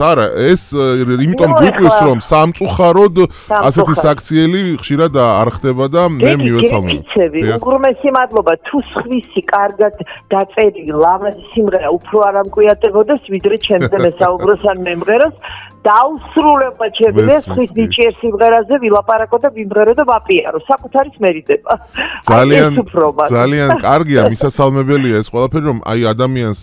არა, ეს იმიტომ გვიყვეს რომ სამწუხაროდ ასეთი საქციელი ხშირად არ ხდება და მე მივესალმები. უღრმესი მადლობა თუ სხვისი კარგად დაწერილი ლამაზი სიმღერა უფრო არ ამკვიატებოდეს ვიდრე ჩემზე მესაუბროს ან მემღეროს დაუსრულებმა ჩემს ხვის ნიჭიერ სიმღერაზე ვილაპარაკო და ვიმღერო და ვაპიარო საკუთარის მერიდება. ძალიან კარგია მისასალმებელია ეს ყველაფერი რომ აი ადამიანს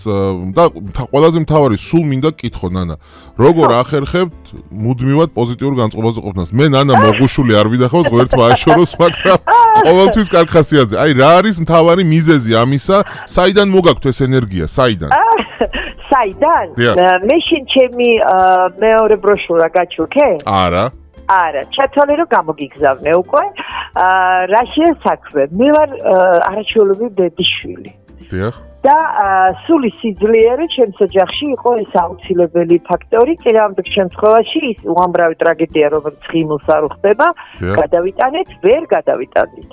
და ყველაზე მთავარი სულ მინდა გკითხო ნანა როგორ ახერხებთ მუდმივად პოზიტიურ განწყობაზე ყოფნას მე ნანა მოგუშული არ ვიდახავს ღერთმა აშოროს მაგრამ ყოველთვის კარგ ხასიათზე აი რა არის მთავარი მიზეზი ამისა საიდან მოგაქვთ ეს ენერგია საიდან საიდან? მე შენ ჩემი მეორე ბროშურა გაჩუქე? არა. არა, ჩათვალე რომ გამოგიგზავნე უკვე. რაშია საქმე? მე ვარ არაჩვეულებრივი ბებიშვილი. დიახ. და სული სიძლიერე ჩემს ოჯახში იყო ეს აუცილებელი ფაქტორი, წინააღმდეგ შემთხვევაში ის უამრავი ტრაგედია, რომელიც ღიმილს არ უხდება, გადავიტანეთ, ვერ გადავიტანდით.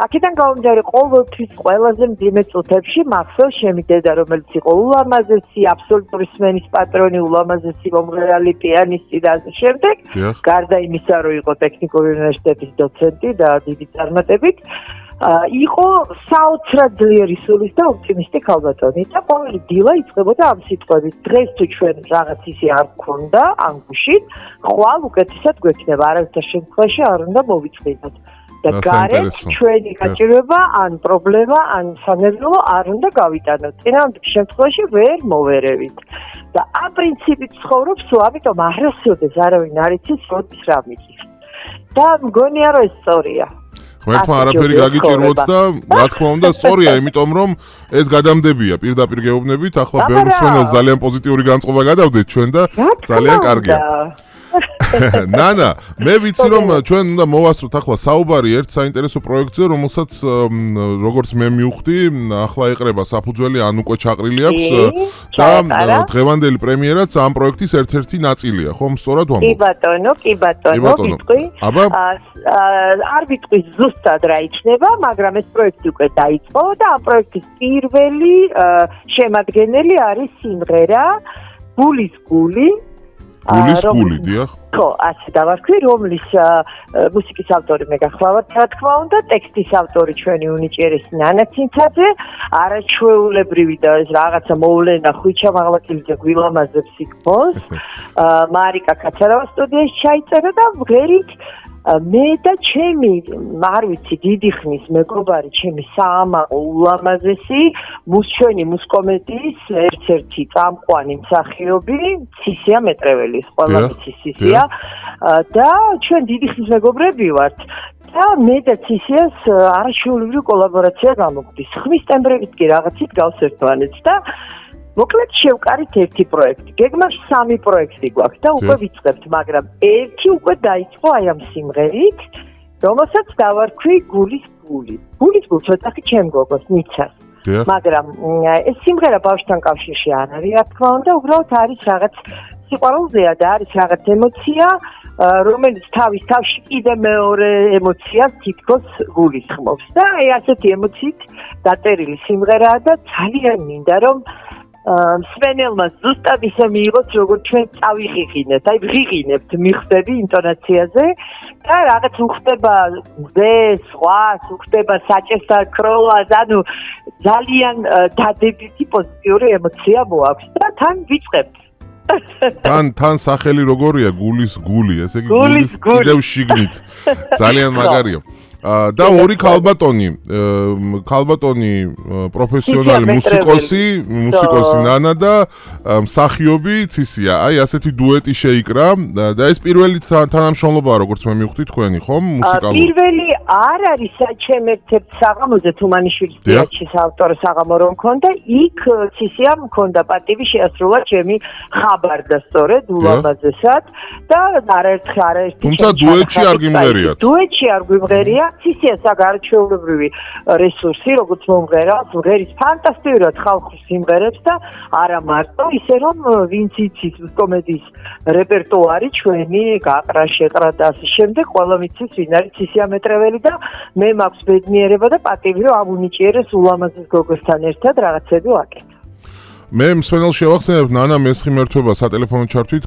აქედან გამომდინარე, ყოველთვის ყველაზე მძიმე წუთებში მახსოვს ჩემი დედა, რომელიც იყო ულამაზესი, აბსოლუტური სმენის პატრონი, ულამაზესი მომღერალი, პიანისტი და ასე შემდეგ. გარდა იმისა, რომ იყო ტექნიკური უნივერსიტეტის დოცენტი და დიდი წარმატებით. იყო საოცრად ძლიერი სულის და ოპტიმისტი ქალბატონი და ყოველი დილა იწყებოდა ამ სიტყვებით დღეს თუ ჩვენ რაღაც ისე არ გქონდა ამ გუშინ ხვალ უკეთესად გვექნება არავითარ შემთხვევაში არ უნდა მოვიწყდეთ და გარეთ ჩვენი გაჭირვება ან პრობლემა ან სანერვიულო არ უნდა გავიტანოთ წინააღმდეგ შემთხვევაში ვერ მოვერევით და ამ პრინციპით ცხოვრობ სულ ამიტომ არასოდეს არავინ არ იცის როდის რა მიწის და მგონია რომ ეს სწორია ღმერთმა არაფერი გაგიჭიროთ და რა თქმა უნდა სწორია, იმიტომ რომ ეს გადამდებია პირდაპირ გეუბნებით, ახლა ბევრ მსმენელს ძალიან პოზიტიური განწყობა გადავდეთ ჩვენ და ძალიან კარგია. ნანა, მე ვიცი რომ ჩვენ უნდა მოვასწროთ ახლა საუბარი ერთ საინტერესო პროექტზე, რომელსაც როგორც მე მივხვდი, ახლა ეყრება საფუძველი ან უკვე ჩაყრილი აქვს და დღევანდელი პრემიერაც ამ პროექტის ერთ-ერთი ნაწილია, ხომ სწორად ვამბობ? კი ბატონო, ვიტყვი. არ ვიტყვი ზუსტად რა იქნება, მაგრამ ეს პროექტი უკვე დაიწყო და ამ პროექტის პირველი შემადგენელი არის სიმღერა გულის გული. გულის გული, დიახ. ხო, ასე დავარქვი, რომლის მუსიკის ავტორი მე გახლავართ, რა თქმა უნდა, ტექსტის ავტორი ჩვენი უნიჭიერესი ნანა ცინცაძე, არაჩვეულებრივი და ეს რაღაცა მოვლენა ხვიჩა მაღლაკილიძე გვილამაზებს იქბოს. მარიკა კაცარავა სტუდიაში ჩაიწერა და ღერით მე და ჩემი, არ ვიცი, დიდი ხნის მეგობარი, ჩემი საამაყო ულამაზესი, ჩვენი მუსკომედიის ერთ-ერთი წამყვანი მსახიობი, ცისია მეტრეველი, ყველა ვიცის ცისია და ჩვენ დიდი ხნის მეგობრები ვართ. და მე და ცისიას არაჩვეულებრივი კოლაბორაცია გამოგვდის. ხმის ტემბრებით კი რაღაცით გავსერთვანეთ და მოკლედ შევკარით ერთი პროექტი. გეგმაში 3 პროექტი გვაქვს და უკვე ვიწყებთ, მაგრამ ერთი უკვე დაიწყო აი ამ სიმღერით, რომელსაც დავარქვი გულის გული. გულის გული ცოტა ჩემ გოგოს ნიცას. მაგრამ ეს სიმღერა ბავშვთან კავშირში არ არის, რა თქმა უნდა, უბრალოდ არის რაღაც სიყვარულზეა და არის რაღაც ემოცია, რომელიც თავის თავში კიდე მეორე ემოციას თითქოს გულისხმობს. და აი ასეთი ემოციით დაწერილი სიმღერაა და ძალიან მინდა რომ მსმენელმა ზუსტად ისე მიიღოს, როგორც ჩვენ წავიღიღინეთ, აი ვღიღინებთ, მიხვდები ინტონაციაზე და რაღაც უხდება მზეს, ზღვას, უხდება საჭესთან ქროლას, ანუ ძალიან დადებითი პოზიტიური ემოცია მოაქვს და თან ვიწყებთ. თან სახელი როგორია გულის გული, ესე იგი გულის კიდევ შიგნით. ძალიან მაგარია. და ორი ქალბატონი პროფესიონალი მუსიკოსი ნანა და მსახიობი ცისია. აი ასეთი დუეტი შეიკრა და ეს პირველი თანამშრომლობაა, როგორც მე მივხვდი თქვენი, ხომ? მუსიკალური. პირველი არ არის საჩემ ერთ-ერთ საღამოზე თუმანიშვილის თეატრში ავტორ საღამო რომ მქონდა, იქ ცისიამ მქონდა პატივი შეასრულა ჩემი ხაბარდა სწორედ ულამაზესად და არაერთი თუმცა დუეტში არ გიმღერიათ. დუეტში არ გვიმღერია ცისიას არაჩვეულებრივი რესურსი, როგორც მომღერალს, მღერის ფანტასტიკურად ხალხურ სიმღერებს და არა მარტო, ისე რომ ვინც იცის კომედიის რეპერტუარი ჩვენი გაყრა, შეყრა და ასე შემდეგ, ყველა მიცის ვინ არის ცისია მეტრეველი და მე მაქვს ბედნიერება და პატივი, რომ ამ უნიჭიერეს ულამაზეს გოგოსთან ერთად რაღაცები ვაკეთებ. მე მსმენელს შევახსენებ ნანა მესხი მერთვება სატელეფონო ჩართვით